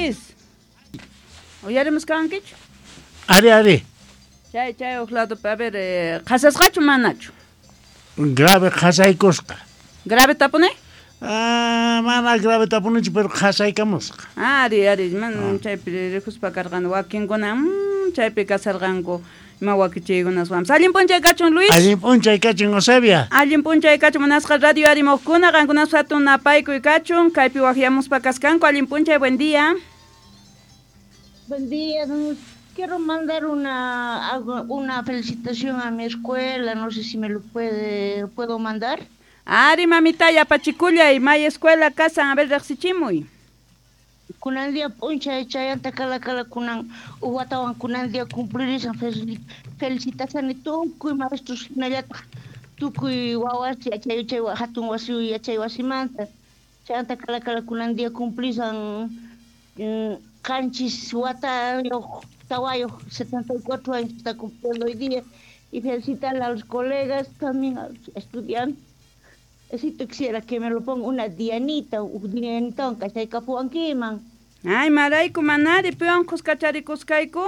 Luis. Uyarimuskankichu? Ari, ari. Chay chay huk ladopi, a ver, qhasasqachu manachu? Grave qhasaykusqa. Grave tapuni? Ah, mana grave tapunichu, pero qhasaykamusqa. Ari, ari, man chaypi rikuspa karqan wakinkuna, chaypi kasarqanku ima wakichiykunaswanpas. Allin p'unchay kachun, Luis. Allin p'unchay kachun, Eusebia. Allin p'unchay kachun, munasqa radio arimuqkuna, qankunas hatun napaykuy kachun, kaypi waqyamuspa kaskanku. Allin p'unchay, buen día. Buen día, quiero mandar una felicitación a mi escuela, no sé si me lo puedo mandar. Ari, mamita, yapachikullay, may escuela kasan, a ver, riqsichimuy. Kunan día p'unchay chayanta kala kala kunan uwatawan kunan día cumplirisan felicitaciones tukuy maestros hinallataq tukuy wawas yachay chay hatun wasi yachay wasimanta chayanta kala kala kunan día cumplisan qanchis watayuq tawayuq 74 años está cumpliendo hoy día y felicitar a los colegas también a los estudiantes. Así quisiera que me lo ponga una Dianita, un Dianita, kachaykapuwankiman. Ay, marayku manari, piwan kuskacharikusqayku?